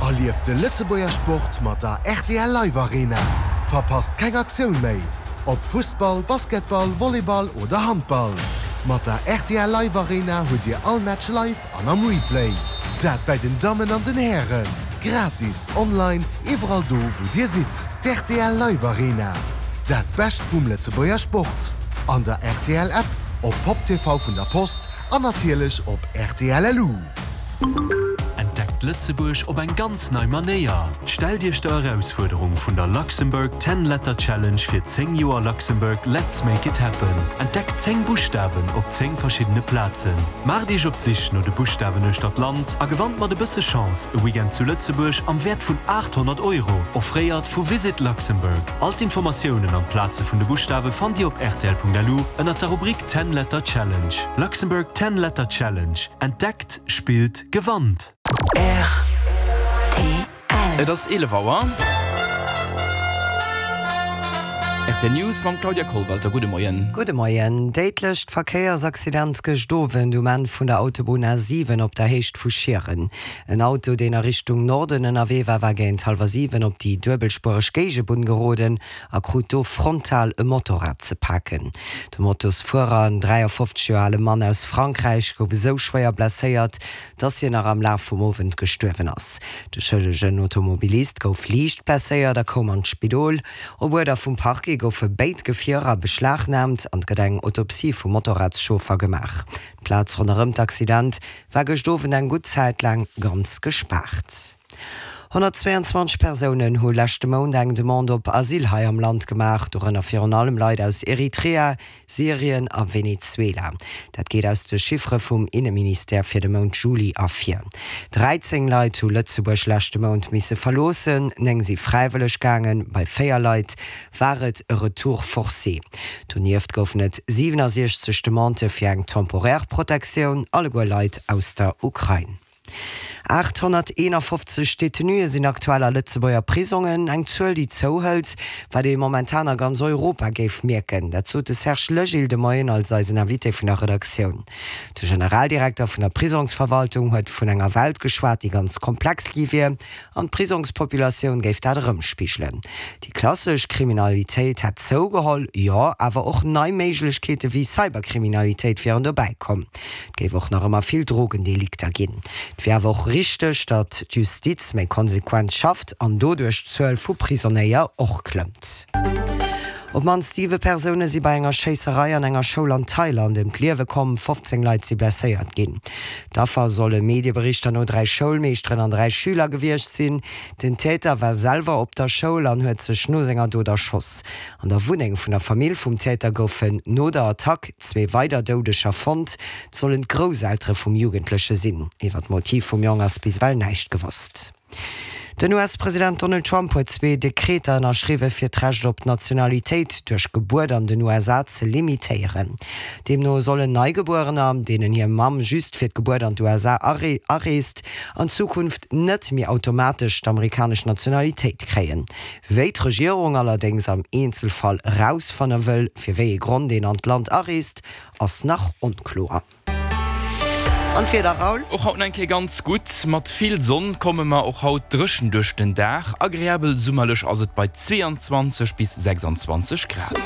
Erlieft de Lëtzebuerger Sport mat der rtl Live Arena. Verpasst keng Aktioun méi, ob Fussball, Basketball, Volleyball oder Handball. Mat der rtl Live Arena hutt Dir all Match live an am Replay. Dat bäi den Dammen an den Hären. Gratis, online, iwwerall do wou Dir sidd. D'rtl Live Arena, dat Bescht vum Lëtzebuerger Sport. An der rtl App, op Pop TV vun der Post an natierlech op rtl.lu. Entdeckt Lëtzebuerg op eng ganz nei Manéier! Stellt Iech der Erausfuerderung vun der Luxembourg Ten Letter Challenge fir 10 Joer Luxembourg Let's Make It Happen. Entdeckt 10 Buschtawen op 10 verschiddene Plazen. Maacht Iech op d'Sich no de Buschtawen uechter d'Land a gewannt mat e bësse Chance e Weekend zu Lëtzebuerg am Wäert vun 800 Euro, offréiert vu Visit Luxembourg. All d'Informatiounen an d'Plaze vun de Buschtawe fannt Dir op rtl.lu ënnert der Rubrik Ten Letter Challenge. Luxembourg Ten Letter Challenge, Entdeckt, spillt, gewannt! Rtl. Et ass 11 Auer. Rtl News mam Claudia Kollwalter. Gudde Moien. Gudde Moien. Déidlecht Verkéiersaccident gëscht Owend um Enn vun der Autobunn A7 op der Héicht vu Schieren. En Auto, deen a Richtung Norden ënnerwee war, war géint hallwer 7 op déi duebelspuereg Géigebunn geroden a krut do frontal e Motorrad ze paken. De Motosfuerer, en 53 Joer ale Mann aus Frankräich, gouf esou schwéier blesséiert, dass hien nach am Laf vum Owend gestuerwen ass. De schëllegen Automobilist gouf liicht blesséiert a koum an d'Spidol. Op Uerder vum Parquet goufe béid Gefierer beschlagnaamt an et gëtt eng Autopsie vum Motorradschauffer gemaach. D'Plaz ronderëm d'Accident war gëscht Owend eng gutt Zäit laang ganz gespaart. 122 Persounen hu leschte Mount eng Demande op Asyl hei am Land gemaach, dorënner virun allem Leit aus Eritrea, Syrien a Venezuela. Dat geet aus de Chiffere vum Inneministère fir de Mount Juli ervir. 13 Leit hu Lëtzebuerg leschte Mount misse verloossen, 9 si fräiwëlleg gaangen, bei 4 Leit war et e Retour forcé. Donieft goufen et 67 Demandë fir eng temporaire Protektioun, alleguer Leit aus der Ukrain. 851 Detenuë sinn aktuell a Lëtzebuerger Prisongen, eng Zuel, déi zouhëlt, wat ee momentan a ganz Europa géif mierken. Dat sot de Serge Legil de Moien als eisen Invité vun der Redaktioun. De Generaldirekter vun der Prisongsverwaltung huet vun enger Welt geschwat, déi ganz komplex gi wier an d'Prisongspopulatioun géif dat erëmspigelen. Déi klassesch Kriminalitéit hätt zougeholl, jo, awer och nei Méiglechkeete wéi Cyberkriminalitéit wieren dobäi komm. Et géif och nach ëmmer vill Drogendelikter ginn. Et wier awer och richteg, datt d'Justiz méi konsequent schafft an doduerch d'Zuel vu Prisonéier och klëmmt. Op d'mannst siwe Persoune si bei enger Schéisserei an enger Schoul an Thailand ëm d'Liewe komm, 15 Leit si blesséiert ginn. D'Affer solle Medieberichter no 3 Schoulmeeschteren an 3 Schüler gewiescht sinn. Den Täter war selwer op der Schoul an huet sech no senger Dot erschoss. An der Wunneng vun der Famill vum Täter goufen no der Attack zwee weider Doudeger fonnt. Et sollen d'Grousseltere vum Jugendleche sinn. Iwwer d'Motiv vum Jong ass bis ewell näischt gewosst. Den US-President Donald Trump huet zwee Dekreter ënnerschriwwe fir d'Recht op d'Nationalitéit duerch Gebuert an den USA ze limitéieren. Deemno sollen Neigebuerener, deenen hir Mamm just fir d'Gebuert an d'USA areest, an Zukunft net méi automatesch d'amerikanesch Nationalitéit kréien. Wéi d'Regierung allerdéngs am Eenzelfall erausfanne wëll, fir wéi ee Grond een an d'Land areest, ass nach onkloer. An d'Wieder, Raoul? Och haut nach eng Kéier ganz gutt, mat vill Sonn komme mer och haut dréchen duerch den Dag. Agreabel summerlech ass et bei 22 bis 26 Grad.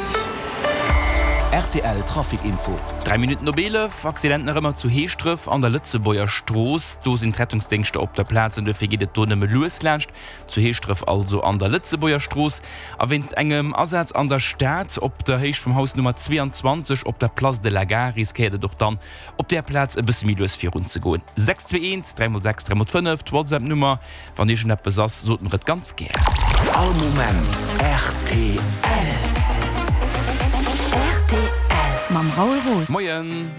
Rtl Trafic Info. 3 Minutten op 11, Accident nach ëmmer zu Heeschdref an der Lëtzebuerger Strooss. Do sinn d'Rettungsdéngschter op der Plaz an duerfir geet et do nëmme lues laanscht. Zu Heeschdref also an der Lëtzebuerger Strooss. A wéinst engem Asaz an der Stad op der Héicht vum Haus Nummer 22 op der Place de la Gare riskéiert et och dann op där Plaz e bësse méi lues virun ze goen. 621 3 x 6 3 x 5, d'Whatsapp-Nummer. Wann iergendeppes ass, sot mer et ganz gär. All Moment rtl. Rtl mam Raoul Roos. Moien!